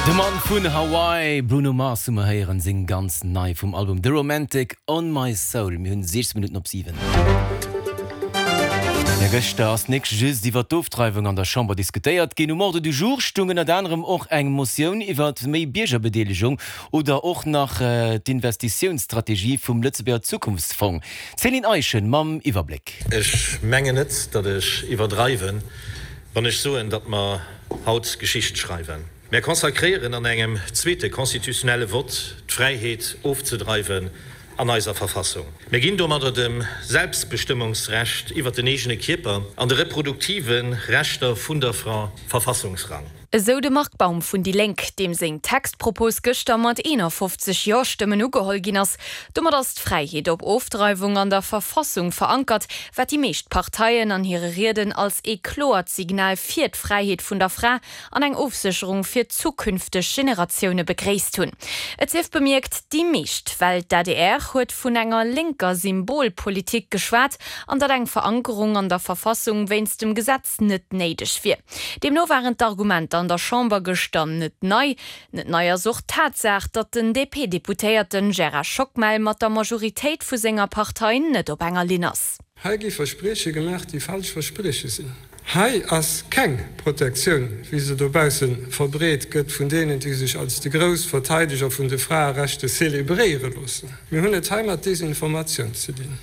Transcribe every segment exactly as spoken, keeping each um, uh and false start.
De Mann vun Hawaii, Bruno Mars hu mer héieren, seng ganz nei vum Album The Romantic On My Soul. Mir hunn siechzéng Minutten op siwen. Jo, gëschter ass nik just iwwer d'Ofdreiwung an der Chamber diskutéiert ginn. Um Ordre du jour stoung ënnert anerem och eng Motioun iwwer méi Biergerbedeelegung oder och nach d'Investitiounsstrategie vum Lëtzebuerger Zukunftsfong. D'Céline Eischen mam Iwwerbléck. Ech mengen net, datt ech iwwerdreiwen, wann ech soen, datt mer haut Geschicht schreiwen. Mär consacréieren an engem zweete constitutionnelle Vott d'Fräiheet ofzedreiwen an eiser Verfassung. Mir ginn domadder dem Selbstbestëmmungsrecht iwwer den eegene Kierper an de reproduktive Rechter vun der Fra Verfassungsrang. Esou de Marc Baum vun déi Lénk, deem seng Textpropos gëschter mat eenafofzeg Jo-Stëmmen ugeholl ginn ass. Domat ass d'Fräiheet op Ofdreiwung an der Verfassung verankert, wat déi meescht Parteien an hire Rieden als ee kloert Signal fir d'Fräiheet vun der Fra an eng Ofsécherung fir zukünfteg Generatioune begréisst hunn. Et sief bemierkt, déi meescht, well d'A D R huet vun enger lénker Symbolpolitik geschwat an datt eng Verankerung an der Verfassung wéinst dem Gesetz net néideg wier. Deemno waren d'Argumenter an der Chamber gëschter net nei. Net nei ass och d'Tatsaach, datt den D P-Deputéierte Gérard Schockmel mat der Majoritéit vu senger Partei net op enger Linn ass. Hei gi Versprieche gemaach, déi falsch Versprieche sinn. Hei ass keng Protektioun, wéi se dobausse verbreet gëtt vun deenen, déi sech als déi grouss Verteideger vun de Fraerechter zelebréiere loossen. Mir hunn et hei mat Desinformatioun ze dinn.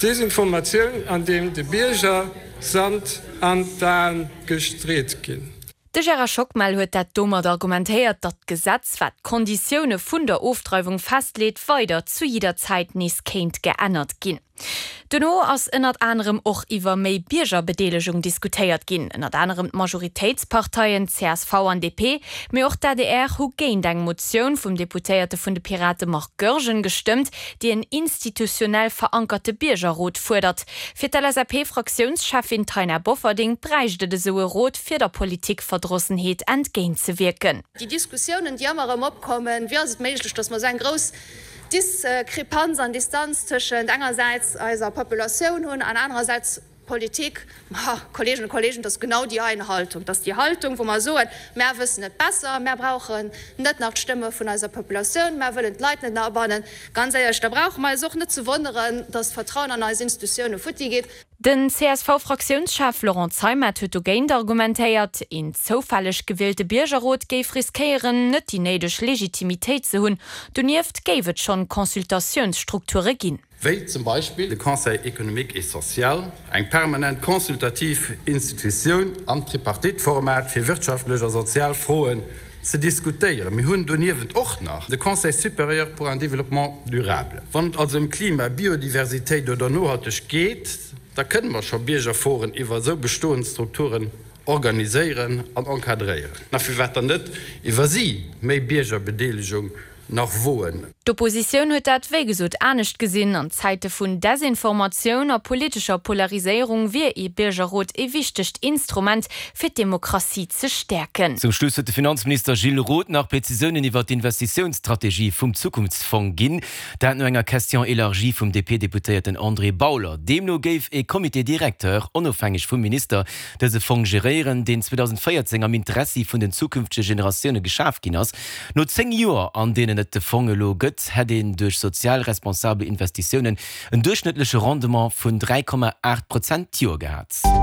Desinformatioun, an deem de Bierger Sand an d'Aen gestreet ginn. De Gérard Schockmel huet dat domat argumentéiert, datt d'Gesetz, wat d'Konditioune vun der Ofdreiwung festleet, weider zu jidder Zäit nees kéint geännert ginn. Dono ass ënnert anerem och iwwer méi Biergerbedeelegung diskutéiert ginn. Ënnert anerem d'Majoritéitsparteien C S V an D P, mee och d'A D R hu géint eng Motioun vum Deputéierte vun de Pirate Marc Goergen gestëmmt, déi en institutionell verankerte Biergerrot fuerdert. Fir d'L S A P-Fraktiounscheffin Taina Bofferding bräicht et esou e Rot fir der Politikverdrossenheet entgéintzewierken. Déi Diskussiounen, déi ëmmer erëm opkommen, wéi ass et méiglech, datt mer esou eng grouss Diskrepanz an Distanz tëschent engersäits eiser Populatioun hunn an anerersäits Politik? Ma, Kolleeginnen a Kolleegen, dat ass genau déi eng Haltung. Dat ass déi Haltung, wou mer soen, mär wëssen et besser, mär brauchen net nach d'Stëmme vun eiser Populatioun, mär wëllen d'Leit net nach abannen. Ganz éierlech, da brauche mer eis och net ze wonneren, datt d'Vertrauen an eis Institutioune futti geet. Den C S V-Fraktiounschef Laurent Zeimet huet dogéint argumentéiert, een zoufälleg gewielte Biergerrot géif riskéieren, net déi néideg Legitimitéit ze hunn. Donieft géif et schonn Consultatiounsstrukture ginn. Wéi zum Beispill de Conseil économique et social, eng permanent consultativ Institutioun am Tripartite-Format fir wirtschaftlech a sozial Froen ze diskutéieren. Mir hunn doniewent och nach de Conseil supérieur pour un développement durable. Wann et also ëm Klima, Biodiversitéit oder Nohaltegkeet geet, da kënne mer scho Biergerforen iwwer esou bestoend Strukturen organiséieren an encadréieren. Na firwat dann net iwwer si méi Biergerbedeelegung nach woen? D'Oppositioun huet dat wéi gesot anescht gesinn. An Zäite vun Desinformatioun a politescher Polariséierung wier ee Biergerrot e wichtegt Instrument fir d'Demokratie ze stäerken. Zum Schluss huet de Finanzminister Gilles Roth nach Prezisiounen iwwer d'Investitiounsstrategie vum Zukunftsfong ginn. Dat no enger Question élargie vum D P-Deputéierten André Bauler. Deemno géif e Comité directeur, onofhängeg vum Minister, dëse Fong geréieren, deen zweedausendvéierzéng am Interessi vun den zukünftege Generatioune geschaf ginn ass. No zéng Joer, an deenen et de Fong elo gëtt, hätt een duerch sozial responsabel Investitiounen en duerchschnëttleche Rendement vun dräi Komma aacht Prozent d'Joer gehat.